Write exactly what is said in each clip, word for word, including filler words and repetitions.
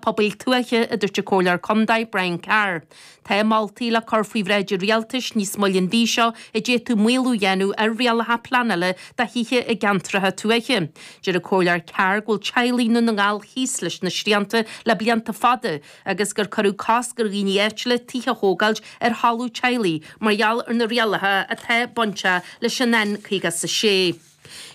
pobail tuaithe a dúirt an Comhairleoir Contae Brian Carr. Tá moltaí le cur faoi bhráid an rialtais níos moille an mhí seo a d'fhéadfadh maolú a dhéanamh ar rialacha pleanála do thithe i gceantracha tuaithe. Deir an Comhairleoir Carr go bhfuil teaghlaigh i nDún na nGall thíos leis na srianta le blianta fada agus gur cuireadh cosc ar dhaoine áitiúla tithe a thógáil ar thalamh teaghlaigh mar gheall ar na rialacha atá bainteach leis an N caoga is a sé.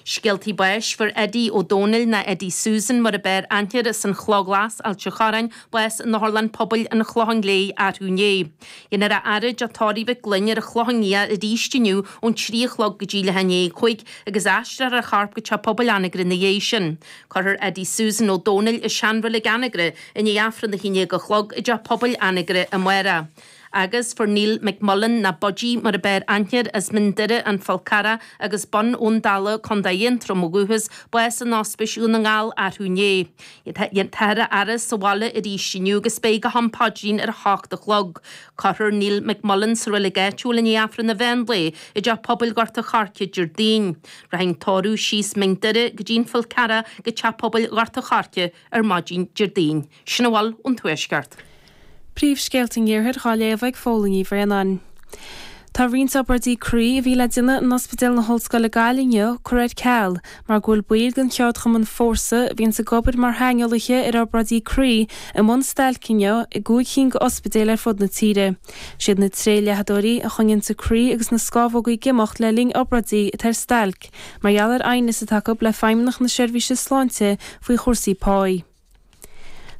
Scéaltaí báis fuair Eddie Ó Dónaill ná Eddie Susan mar ab fhearr aithne air as an Chloch Ghlas, Ailt an Chorráin, bás in Otharlann Pobail an Chlocháin Léith arú inné. Déanfar a fhaire i dTeach Tórraimh Mhic Gloinn ar an Chlochán Liath arís inniu ón trí a chlog go dtí leath i ndiaidh a cúig agus aistreofar a chorp go Teach Pobail Anagaire ina dhiaidh sin. Cuirfear Eddie Susan Ó Dónaill i seanreilig Anagaire i ndiaidh Aifreann a haon déag a chlog i dTeach Pobail Anagaire amárach. Agus fuair Neil McMullen ná Budgie mar ab fhearr aithne air as Mín Doire, An Fál Carrach agus Bun Abhann Dalla, Contae Aontroim ó dhúchas, bás in Ospís Dhún na nGall arú inné. Táthar á fhaire sa bhaile arís inniu agus beidh go ham paidrín ar a hocht a chlog. Cuirfear Neil McMullen sa reilig áitiúil i ndiaidh Aifreann an mheán lae i dTeach Pobail Ghort an Choirce Déardaoin. Rachaidh an tórramh síos Mín Doire go dtí an Fál Carrach go Teach Pobail Ghort an Choirce ar maidin Déardaoin. Sin a bhfuil ón Tuaisceart. Príomhscéalta an Iarthair á léamh ag Fódhla Ní Bhraonáin. Tá roinnt obráidí croí a bhí le déanamh in Ospidéal na hOllscoile Gaillimh inniu curtha ar ceal mar go bhfuil baill den cheardchumann Fórsa, a bhíonns ag obair mar shaineolaithe ar obráidí croí, i mbun stailce inniu i gcúig cinn d'ospidéil ar fud na tíre. Siad na tréleathadóirí a choinníonns an croí agus na scámhógaí ag imeacht le linn obráidí atá ar stailc mar gheall ar aighneas atá acu le Feidhmeannacht na Seirbhíse Sláinte faoi chúrsaí páí.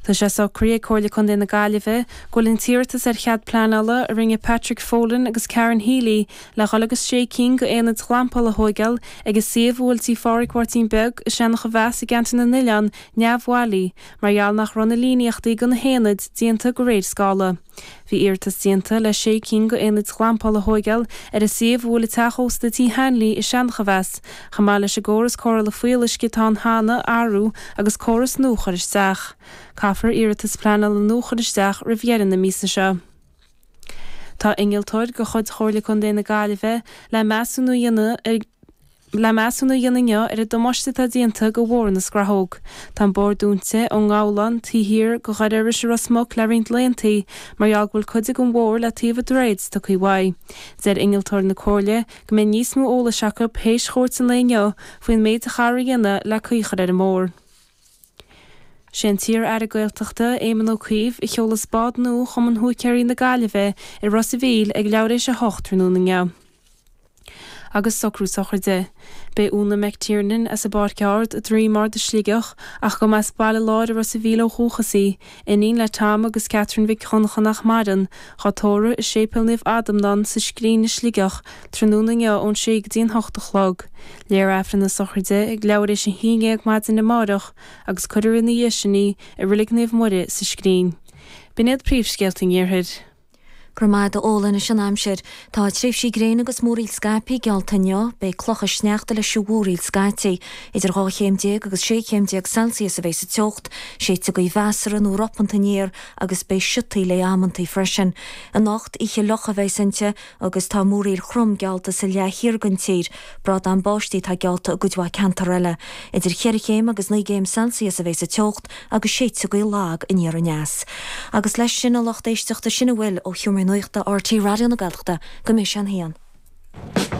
Tá sé socraithe ag Comhairle Contae na Gaillimhe go bhfuil an t-iarratas ar chead pleanála a rinne Patrick Folan agus Karen Healy le dhul agus sé cinn d'aonaid ghlampála a thóigeáil ag an suíomh a bhfuil Tí Phádraig Mháirtín Beag i Seanach an Mheas i gceantar na nOileán neamhbhailí mar gheall nach raibh na líníochtaí do na haonaid déanta de réir scála. Bhí iarratas déanta le sé cinn d'aonaid ghlampála a thóigeáil ar an suíomh a bhfuil an teach ósta Tí Hanley i Seanach an Mheas, chomh maith leis an gcóras cóireála fuíolluisce atá ann cheana a athrú agus córas nua a chur isteach. Caithfear iarratas pleanála nua a chur isteach roimh dheireadh na míosa seo. Tá innealtóir de chuid Chomhairle Contae na Gaillimhe le measúnú a dhéanamh ar le measúnú a dhéanamh inniu ar an damáiste atá déanta do Bhóthar na Scrathóg. Tá an bóthar dúnta ón nGabhlán taobh thiar de Dhoire Iorrais i Ros Muc le roinnt laethanta mar gheall go bhfuil cuid den bhóthar le taobh an droichid tugtha uaidh. Deir innealtóir na Comhairle go mbeidh níos mó eolais acu théis chuairt an lae inniu faoin méid a chaithfear a dhéanamh le caoi a chur ar an mbóthar. Sé an t-iar-aire Gaeltachta, Éamon Ó Cuív, a sheolas bád nua Chumann Húicéirí na Gaillimhe i Ros a' Mhíl ag leathuair théis a hocht tráthnóna inniu. Agus socrú sochraide. Beidh Úna McTiernan as an bPáirc Ard, Droim Ard i Sligeach, ach go mba as Baile Láir i Ros a' Mhíl ó dhúchas í, iníon le Tom agus Catherine Mhic Dhonncha nach maireann, dhá tórramh i Séipéal Naomh Adhamhnán sa Scrín i Sligeach, tráthnóna inniu ón sé go dtí an hocht a chlog. Léifear Aifreann na sochraide ag leathuair théis a haon déag maidin amárach agus cuirfear ina dhiaidh sin í i Reilig Naomh Muire sa Scrín. B'in iad príomhscéalta an Iarthair. Go raibh maith agat a Fhódhla. Anois an aimsir. Tá tréimhsí gréine agus múraíl scaipthe geallta inniu. Beidh clocha sneachta leis an mhúraíl scaití. Idir dhá chéim déag agus sé chéim déag Celsius a bheidh sa teocht. Séidfidh gaoth mheasartha nó ropanta aniar agus beidh siotaí léi amantaí freisin. Anocht, oíche fhliuch a bheas inti agus tá múraíl throm geallta sa leath thiar den tír. Brádán báistí atá geallta i gcuid mhaith ceantar eile. Idir cheithre chéim agus naoi gcéim Celsius a bheidh sa teocht agus séidfidh gaoth lag aniar aneas. Agus leis sin a lucht éisteachta sin a bhfuil ó Sheomra Nuachta RTÉ Raidió na Gaeltachta go mbeidh sé an haon.